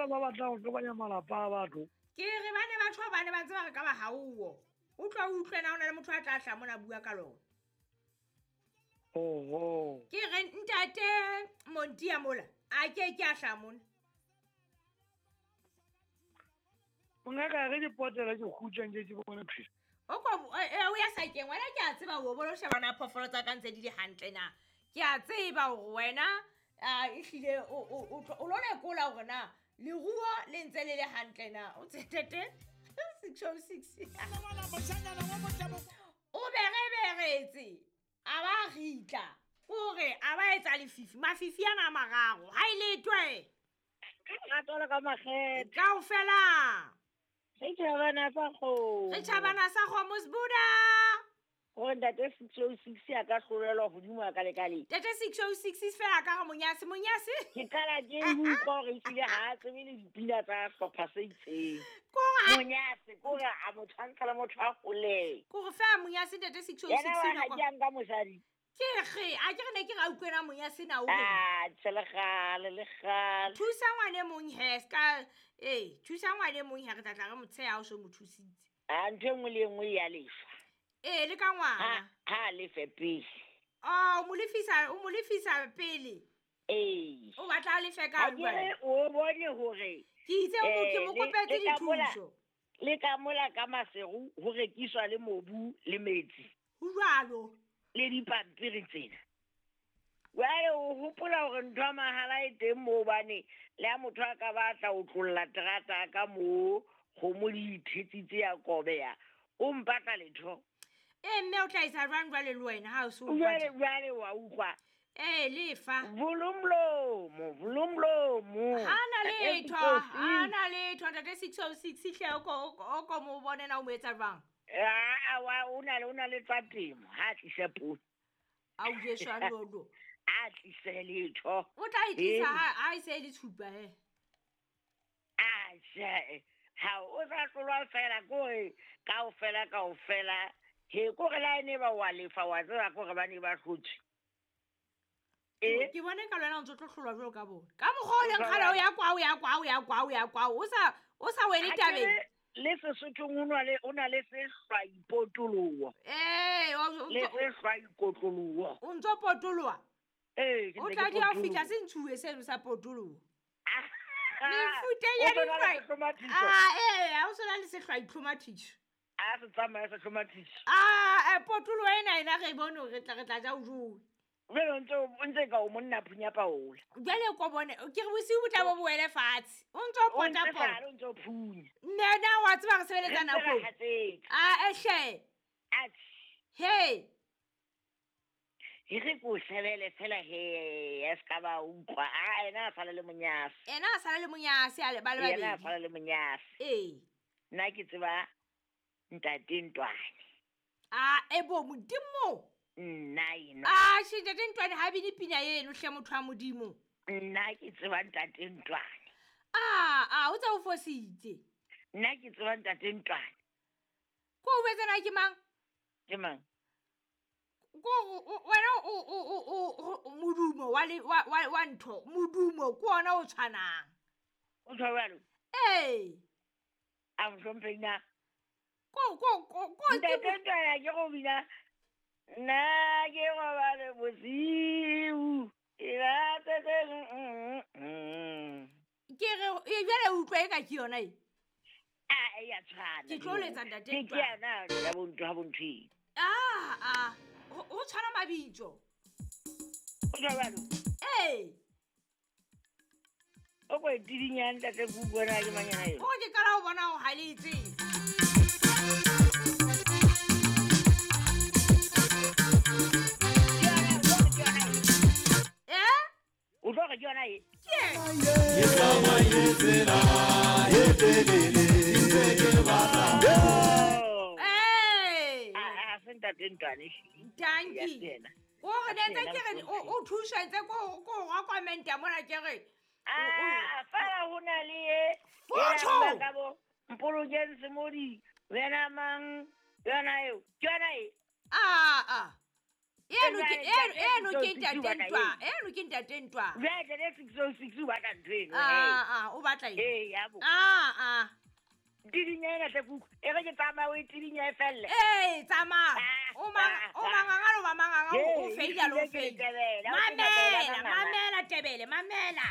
ba ba batlang go tlobanya malapa a batho. Ke re ba ne batho ba ne ba ntse ba re ka ba gaowo. O tlwa o utlwe na o na le motho a tla tla mona bua ka lona. Oho. Ke re ntate Montia mola a ke ke a hla mona. Mongaka ge dipotela ke khutšang ke bone phela. O ko o ya sakeng wena ke a tseba o bolo shebana phoofolo tsa ka ntse di le hantle na. Ke a tseba hore wena a ehlile o lo lekola hore na leruo le ntse le le hantle na. O tsetete 606. O bereberetse a ba ritla kore a ba etsa lefifi mafifi ana a mararo ha e letwe Ratola ka makgethe. kaofela Re tjhabana sa kgomo. re tjhabana sa kgomo sebuda. Hore ntate 606 a ka hlolelwa hodimo a ka lekaleng. Tete 606 fela ka re monyase monyase. Ke qala ke utlwa hore ehlile ha a tsebe le dipina tsa hlopha se itseng. Kore Monyase kore a mo tshwantsha le motho a holeng. kore fela monyase tete 606 Yena wa ha nako. ke a nka mosadi. Ke re a ke re ne ke ra utlwena monyase na o re. Ah, tjhe le kgale le kgale. Thusa ngwane mong he ska eh thusa ngwane mong he re tla tla re mo tsheha o so mo thusitse. Ah, ntho e nngwe le e nngwe ya lefa. Eh le ka Ha ngwana. ha lefe pele. Oh, o mo lefisa pele. Ee. O batla a lefe ka Ha ke jwale. re o bone hore Ke itse o ke mo kopetse le ka mola- dithuso. le ka mola ka Maseru ho rekiswa le mobu le metsi. Ho jwalo. Le dipampiri tsena. Jwale o hopola hore ntho ya mahala e teng moo hobane le ha motho a ka batla ho tlolla terata ka moo kgomo di ithetsitse ya kobeya, o mpatla letho. Eh mme o tla etsa jwang jwale le wena ha o so o Jwale mpatla? jwale wa utlwa. Eh lefa. Volumlomo, volumlomo. Ha na letho, ha na letho ntate 606 hle o ko mo bone na o mo etsa jwang? Ah, wa o na le tsa temo, ha tlise poone. A o Jesu a lolo. A tlise letho. O tla e tlisa Ee. ha e se e le tshupa he. Ah, tjhe. Ha o sa hlolwa fela kore kaofela kaofela. He kore la ene ba wa lefa wa tseba kore ba ne ba hlotswe. Eh? Ke bone ka lwena o ntso tlo hlolwa jwalo ka bona. Ka mokgwa o leng kgale o ya kwa o ya kwa o ya kwa o ya kwa o sa wele Ha ke tabeng. re le Sesothong o na le sehlwaipotoloho. Eh, Le sehlwaikotloloho. o ntso potoloha. Ee, ke O ntse tla ke di a fihla potoloha. se ntshuwe seno sa potoloho. Ah, Mefuta o ya tsona le dihlwai. sehlomathiso? Ah, eh, ha o sona le sehlwaitlhomathiso. A se tsamaya sehlomathiso. Ah, potoloho ena ena re bone hore re tla ja o jowe. Jwale o ntse ka o monna phunya paola. Jwale ko bone ke re bosiu bo tla bo boele fatshe. O ntso O ntse pota pota. sale o ntso phunya. Nne na wa tseba re Re sebeletsa ntse re nakong. hatsetse. Ah, ehle. Atjhe. He. E re ko shebele fela he, a se ka ba utlwa. Ah, ena a sala le monyase. Ena a sala le monyase a le ba le Yena a babedi. sala le monyase. Ee. Nna ke tseba ntate Ntwane. Ah, e bo modimo. Nna eno. Ah, she ntate Ntwane ha bine pina eno hle motho wa modimo. Nna ke tseba ntate Ntwane. Ah, ah, o tsa o fositse. Nna ke tseba ntate Ntwane. Ko o jwetsa ke mang? Ke mang? Ko wena o modumo wa le wa ntho, modumo ke ona o tshwanang. O tshwa jwalo? Ee. A mohlomphehi na? Ko ko ko ko ke Ntate Ntwane ke go bina. Nna ke robale bosiu. E ba tsetse, Ke re e jwale o utlwa eka ke yona e. Ah, e ya tshwana. Ke tlo letsa ntate Ke Ntwane. yona ya bo ntho ha bo ntho eno. Ah, ah. Ho tshwana mabitso. O tshwa jwalo? Ee. O ko e tidinyane ntate ke utlwe na ke manyana eo. Ko ke qala ho bona o haletse. Eh? O tlo re ke yona e? Ke e? Ke tsamaile tsela e telele, ntse ke batla. Oh. Eh. Ah, ah, se ntate Ntwane ehlile. Dankie. Ya se yena. Ko re ne ntse Ya ke se re yena o thusa ntse ko go recommend mona ke re. Ah, fela ho na le e. Fotho! E nang ka bo Mpolokeng Semodi, wena mang, yona eo. Ke yona e. Ah, ah. Eno ke Jwale, eno eno ke ntate ntate o batla ntwa. eng? Eno ke ntate ntwa. Jwale ntate 606 o batla ntho eno. Ah ah, o batla eng? Ee, ya bo. Ah ah. Tidinya ena hle kuku. E re ke tsamaya o e tidinya e felle. Ee, tsamaya. Ah, O mang ah, o manganga le o ba manganga o Ee, feila le o ehlile ke feila. letebele, ha o sena Mamela, tebele, mamela tebele, mamela.